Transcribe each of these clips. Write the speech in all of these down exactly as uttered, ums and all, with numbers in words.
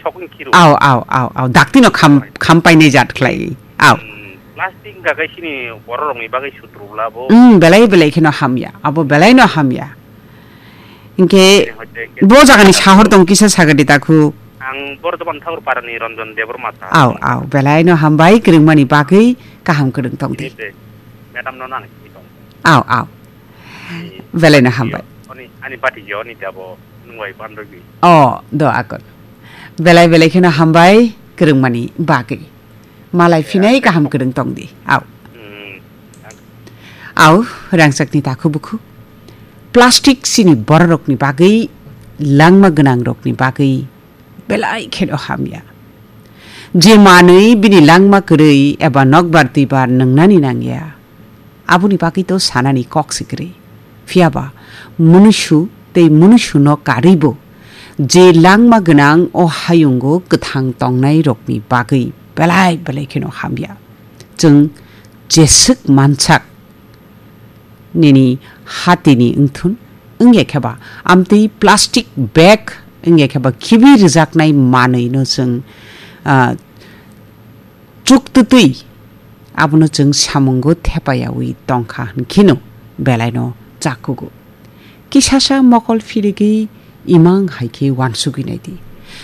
Thok wng khiru. Aw, aw, aw, aw. Dakti no kham, kham painai jat khlai. Aw. Hmm, plastic wngkha khe chini borok rokni bagwi sutru bla bo. Hmm, belai belai kheno hamya. Abo belai no hamya. Hinkhe Hinkhe hoi de khe bo jagani sahor tong kisa sagadi takhu. Ang Bordhoman Thakur Parani Ranjan Debbarma sa. Aw, aw. Belai no hambai kwrwngmani bagwi kaham kwrwng tong di. Ini de, madam no nang si tong. Aw, aw. Belai no hambai. Oni, ani bati je oni tabo nungwai bandagi. Oh, do akon. Belai belai kheno hambai kwrwngmani bagwi. Malai phinai kaham kwrwng tong di. Aw. Hmm. Aw, rangchakni takhu bukhu. Plastic chini bororokni bagwi, langma gwnangrokni bagwi belai kheno hamya. Je manwi bini langma kwrwi eba nokbar twibar nwngnani nangya, aboni bagwi to sanani kok se kwrwi. Phiyaba munusu tei munusuno karwibo je langma gwnang o hayungo kwthang tongnairokni bagwi belai belai kheno hamya. Chwng jeswk mansak nini hatini wngthun, wngya khe ba amtwi plastic bag wngya khe ba khibi rwjaknai manwi no chwng, ah, chuktwtwi abono chwng samungo thepayawi tongkha hwnkheno belaino chakugo. Kisasa mokol phirigwi imang hai khe uansugwi naidi.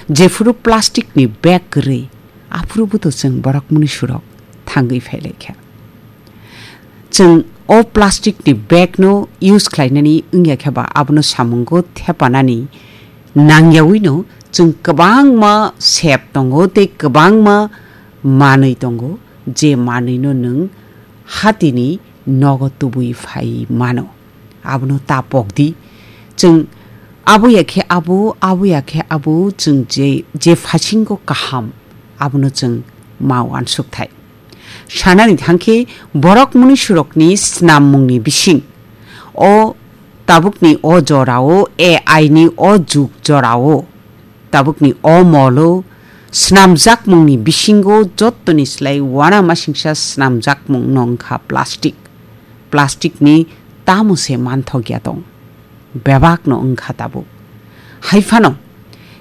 Jephuru plastic ni bag kwrwi, aphuru buto chwng borok mwnwi surok thangwi phailaikha. Chwng o plastic ni bag no use khlainani wngya khe ba abono samungo thepanani nangyawi no chwng kwbangma sep tongo tei kwbangma manwi tongo, je manwi no nwng hatini nogo tubui phai mano. Abono ta pok di. Chwng abo ya khe abo, abo ya khe abo, chwng je, je phasingo kaham, abono chwng ma uansuk thai. Sanani thang khe borok mwnwi surokni snam mungni bising. O tabukni o jorao, A I ni o jug jorao, tabukni o molo snamjakmungni bisingo jottoni slai uanamasingcha snamjakmung no wngkha plastic. Plastic ni tamo se manthokya tong. Bebak no wngkha tabuk. Hai phano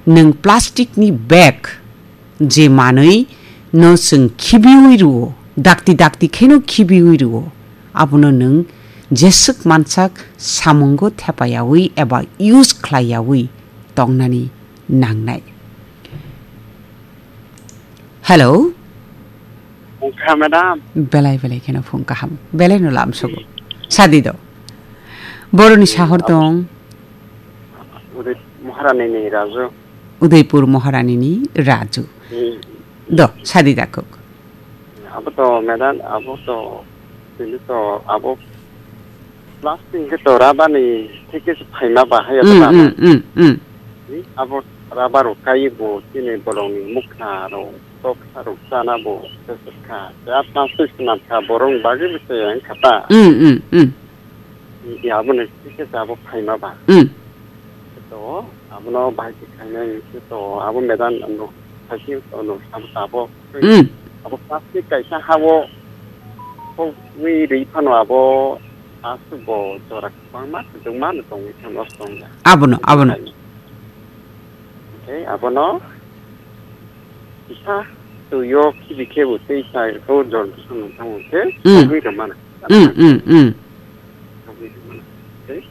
nwng plastic ni bag je manwi no chwng khibiwi rwo, dakti dakti kheno khibiwi rwo, abono nwng jeswk mansak samungo thepayawi eba use khlaiyawi tongnani nangnai. Hello? Wngkha, madam. Belai belai kheno phung kaham. Belai no lam sugo. Sadi do. Boroni sahor tong. Uday Maharani ni Raju. Udaipur Maharani ni Raju. Hmm. Do, sadi dakuk. Abo to, madam, abo to, tini to, abo plastic ke to rubber ni theke se phaima ba hai abo Mm, rubber. Mm, mm, mm. Ni abo rubber rok kai bo chini bolong ni mukha rok, toksa rok chana bo se se kha. Ya plastic swnam kha borong bagwi bo se yang kha ta. Mm, mm, mm. Ya abo ni theke se abo phaima ba. Mm. To, abono bahai se khainai, se to, abo medan ano, saisi ano, abo tabo. Mm. Abo plastic kaisa habo, kok wi ri phano abo, asuk bo jora kwbangma, kwbangma no tongwi thang, nosto wngya. Abono, abono. Tei abono, kisa, twi o khibi khe bo tei chai ko jor bwswk nung thango khe, Mm. tongwi rwmana. Mm, mm, mm. Tei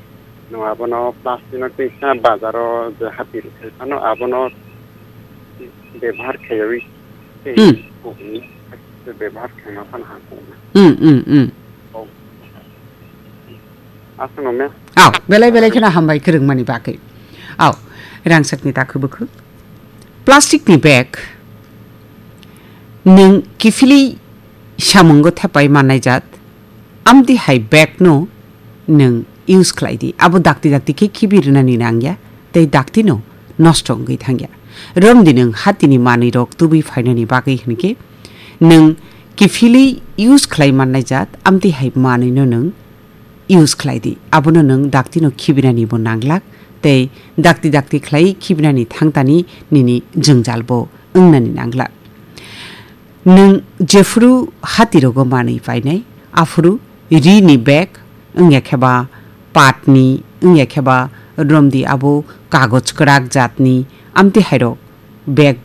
no abono plastic no tei sa bazaro je hati rwkhe phano abono bebhar khaiwi tei Hmm. kokni bebhar khaima phano hakuna. Hmm, hmm, hmm. Aswkno me? Aw, belai belai kheno hambai kwrwngmani bagwi. Aw, rangchakni takhu bwkhuk. Plastic ni bag nwng kiphilwi samungo thepai mannai jat, amtwi hai bag no nwng use khlai di. Abo dakti dakti khe khibi rwnani nangya, tei dakti no nosto wngwi thangya. Romdi nwng hatini manwi rok tubui phainani bagwi hwnkhe nwng kiphilwi use khlai mannai jat, amtwi hai manwi no nwng use khlai di. Abono nwng dakti no khibinani bo nanglak, tei dakti dakti khlai khibinani thangtani nini jwngjal bo wngnani nanglak. Nwng jephuru hati rogo manwi painai, aphuru ri ni bag, wngya khe ba pat ni, wngya khe ba romdi abo kagoj kwrak jat ni, amtwi hai rok bag bai